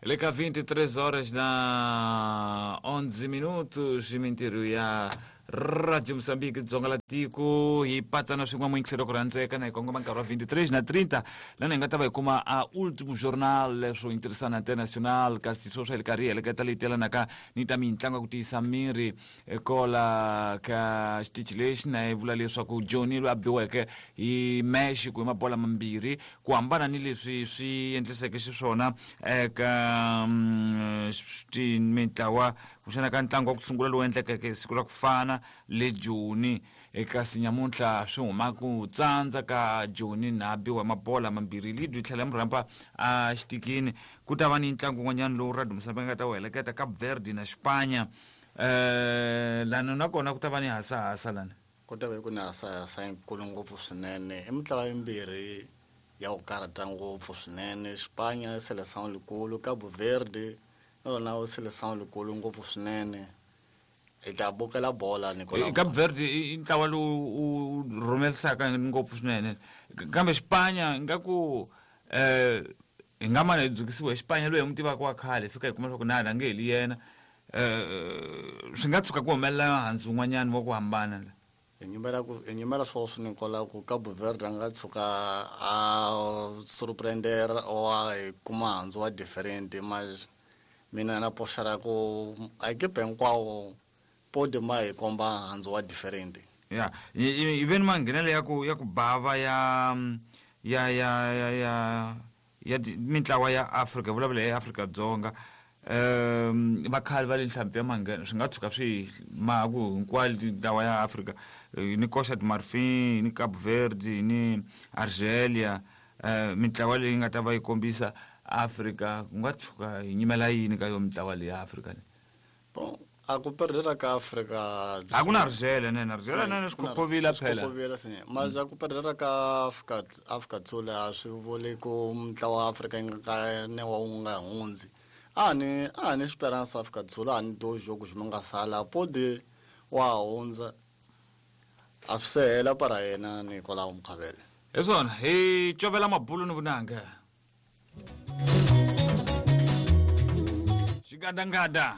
Le ka 23 horas na 11 minutos mintirho ya Radio Moçambique Dzonga la tiko hi patsana swin'we muyingiselo ku rhandzeka na hi kongoma nkarhi wa 23 na 30 lana hi nga ta va hi kuma a ultimo jornal leswo interessana international kasi sweswo hi ri karhi hi heleketa leyi telanaka ni ta mintlangu ya ku tiyisa miri kola ka xitichi lexi na yi vula leswaku Johnny loyi a biweke hi Mexico hi mabola mambirhi ku hambana ni leswi swi endliseke xiswona eka mintlawa kumbexana ka ntlangu wa ku sungula lowu endlekeke siku ra ku fana le Joni kasi nyamuntlha swi huma ku tsandza ka Joni na biwa mabola mambirhi lead yi tlhela yi rhamba a xitikini ku ta va ni ntlangu wun'wanyana lowu Radio Mozambique nga ta wu heleketa Cape Verde na Xipanya lani nakona ku ta va ni hasahasa lani Ku ta ve ku ni hasahasa yikulu ngopfu swinene. I mintlawa yimbirhi ya ku karhata ngopfu swinene. Xipanya i seleção likulu, Cabo Verde na lona i seleção likulu ngopfu swinene. Hi ta bukela bola Nicolau. Cape Verde i ntlawa lowu u rhumerisaka ngopfu swinene kambe Xipanya ingaku hi nga mana hi dzukisiwa hi Xipanya loyi hi n'wi tivaka wa khale hi fika hi kuma leswaku na a nge heli yena swi nga tshuka ku humelela handzu wun'wanyana wa ku hambana la Hi nyimela ku hi nyimela swoswo Nicolau ku Cabo Verde a nga tshuka a surprender or a hi kuma handzu wa different mas mina na poxa ra ku a ekipa hinkwawo podi ma hi komba handzu wa different. Ya yi ve ni manghenelo ya ku ya ku bava ya ya ya ya ya ya mintlawa ya Afrika hi vulavula hi Afrika-Dzonga va khale va le nhlampfi ya manghena swi nga tshuka swi maha ku hinkwayo mintlawa ya Afrika ni Costa de Marfin ni Cape Verde ni Argelia mintlawa leyi nga ta va yi kombisa Afrika ku nga tshuka hi nyimela yini ka yo mintlawa leyi ya Afrika leyi. Bon, a ku perdela ka Afrika A ku na Argelia nene Argelia nene swi khokhovila phela. Swi sine. Mas a ku perdela ka Afrika Afrika Dzonga a swi vuli ku mintlawa wa Afrika yi nga ka ne wa wu nga hundzi. A ni a ni Esperança Afrika Dzonga a ni dois jogos mi nga sala pode wa hundza. A swi se hela para yena Nicolau Mkhabele. Hi swona hi covela mabulu ni vunanga. Xigandaganda.